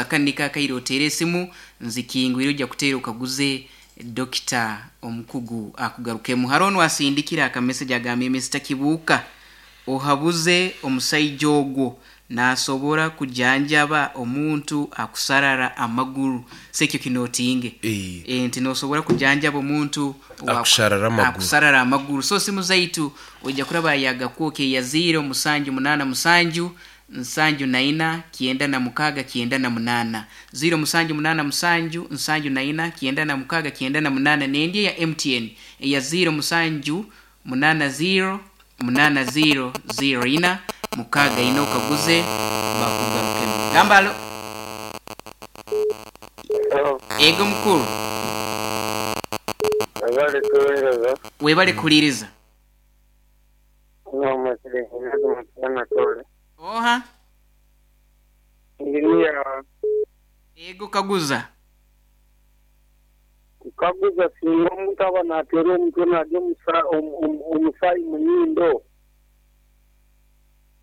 Kani kakaire oteere esimu nzikingwire, ojja kuteera okaguze dokita omukugu akugarukemu. Hariho onwasindikire akamessage agambire, "Mr Kibuuka, ohabuze omusaija ogwo, nasobora kujanjaba omuntu akusarara amaguru?" Sekyo kinotinge. Nti nosobora kujanjaba omuntu Akusharara amaguru. Akusarara amaguru. So simu zaitu ojja kuraba yagakwoka eya 0787 74 96 98, 0787 74 96 98, nendi eya MTN eya 0780 80 04 64, okaguze bakugarukemu. Gamba alo. Ego mukuru. Webale kuwereza. Webale kuhuliriza. Oha? Engineer. Ego, kaguza. Nkaguza, singa omuntu aba nateerwa omutwe narya omusaayi munyindo,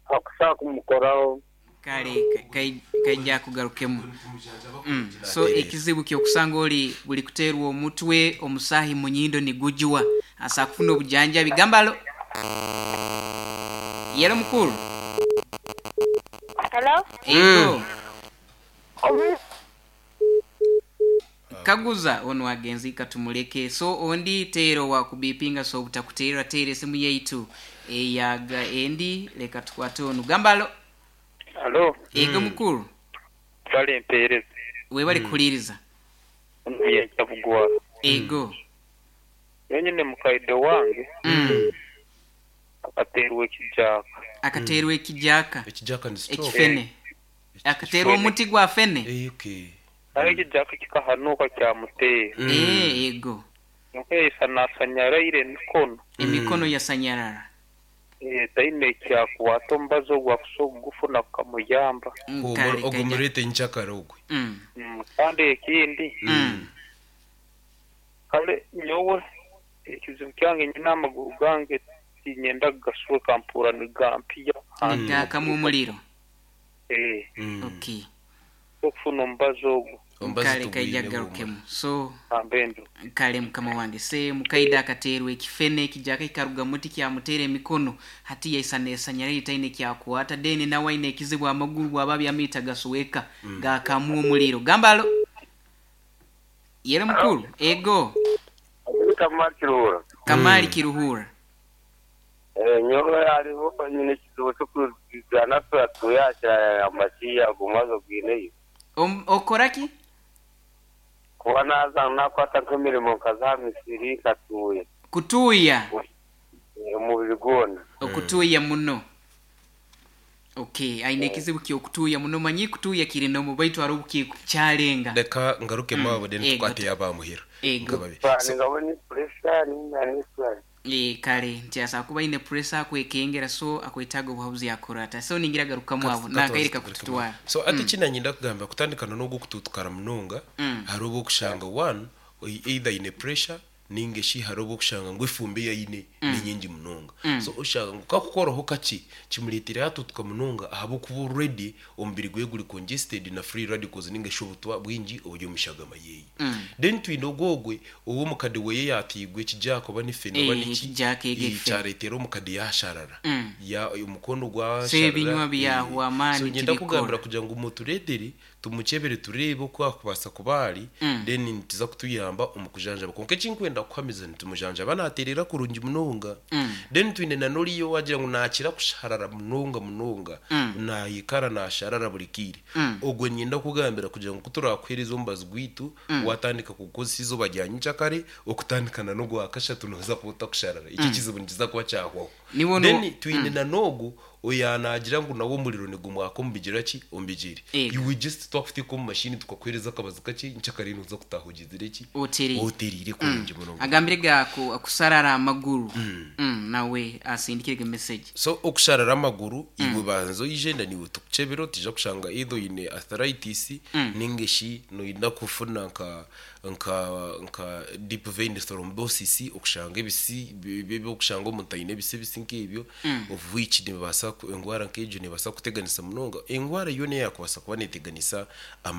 akusobola kumukoraho? Kale kaija kugarukemu. So ekizibu kyokusanga oli buli kuteerwa omutwe omusaahi munyindo nigujwa, asa kufuna obujanjabi. Gamba alo. Yelo mukuru. Hello? Ego. Kaguza ono agenzi katumuleke. So ondi teero wakubipinga, so obutakuteerera, teera esimu yaitu eyaga endi. Leka tukwate onu. Gamba alo. Alo. Ego mukuru. Kale mpeereza. Webale kuhuliriza. Ono yaija bugwara. Ego. Nyine mukaide wange akateerwa ekijaaka. Akateerwa ekijaaka. Ekijaaka ni stroke. Ekifene. Akateerwa omuti gwa fene. Okay. Aye ekijaaka kikahanuuka kyamuteera. Ego. Kyonka yaisa nasanyaraire emikono. Emikono yasanyarara. Taine ekyakwata, omubazi ogwo akusobola kugufuna gukamuyamba. Kale Ogwo kaija. murete nkyakare ogwe. Kandi ekindi, kale nyowe ekizibu kyange nyine amaguru gange tinyenda kugasweka, mpura nigampiya. Nigakamu omuliro. Okay. Okufuna omubazi ogwo. Omubazi Kale kaija tugwine. garukemu. So Ambendo. Kale mukama wange, se mukaida akateerwa ekifene, ekijaka kikaruga muti kyamuteera emikono, hati yaisa nesanyaraire, taine kyakwata. Then nawe aine ekizibu amaguru bwaba byamiita gasweka, gakamu omuliro. Gamba alo. Yere mukuru. Ego. Kamali Kiruhura. Kamali Kiruhura. Nyowe hariho nyine ekizibu kyokuzana tuyakira amasiya gumaze gwineyo. Okoraki? Kuba naza nakwata nk'emirimo nkaza misiri nkatuya. Kutuya. Omubiri gwona. Okutuya muno. Okay, aine ekizibu kyokutuya muno. Manyi kutuya kiri nomu baitu ari kyalenga. Leka ngaruke maabo then Ego. tukwate yabamuhira. Ego. Nkababi. So, Ngabona pressure ninga niswali. Kale nti asa kuba aine pressure akwekengera, so akwetaaga obuhabuzi akora ata. So ningira garukamu abo nakaire kakututwara. So ati kinanyenda kugamba kutandikana n'ogwo kututukara munonga, hariho okushanga one either ine pressure ninga shi hariho okushanga ngu efumbi yaine ni nyingi munonga. So oshanga ngu kakukoraho kaki kimureetera yatutuka munonga ahabw'okuba already omubiri gwe guri congested na free radicals ninga shi obutwa bwingi oburi omu shagama yeeye. Then twine ogwogwe ow'omukade weye yatiigwe ekijaaka oba nifene oba niki, Ekijaaka ego efene. Kyareetera omukade yasharara. Ya omukono So ebinywa byahwa amaani So nyenda tibikora. kugambira kugira ngu mutureetere tumukyebere tureebe oku akubaasa kuba ari, then nituza kutuyamba omu kujanjaba. Kwonka ekinkwenda kuhamiza nitumujanjaba nateerera kurungi munonga. Then twine na n'oriyo wagira ngu nakira kusharara munonga munonga, nayikara nasharara buri kiire. Ogwo nyenda kugambira kugira ngu kuturakuheereza omubazi gwaitu, watandika kugukozesa izooba rya nyenkyakare okutandikana n'ogwa kashatu noza kuba otakusharara, eki ekizibu nikiza kuba kyahwaho. Then twine na n'ogu oya nagira ngu nawe omuriro nigumwaka omu bigyere ki omu bigyere. Ego. Iwe just twakuteeka omu mashini tukakuheereza akabazi kakye, nkyakare noza kutaha ogizire ki? Oterire. Oterire kurungi munonga. Agambire gako akusarara amaguru. Nawe asindikire message. So okusharara amaguru, iwe banza oije na niwe tukukyebera, otija kushanga either oine arthritis ninga shi noyenda kufuna nka deep vein thrombosis, okushanga ebisi ebyokushanga omuntu aine ebisi ebisi nk'ebyo, of which nibibaasa engwara nk'egyo nebaasa kuteganisa munonga. Engwara yoona eyakubaasa kuba neteganisa.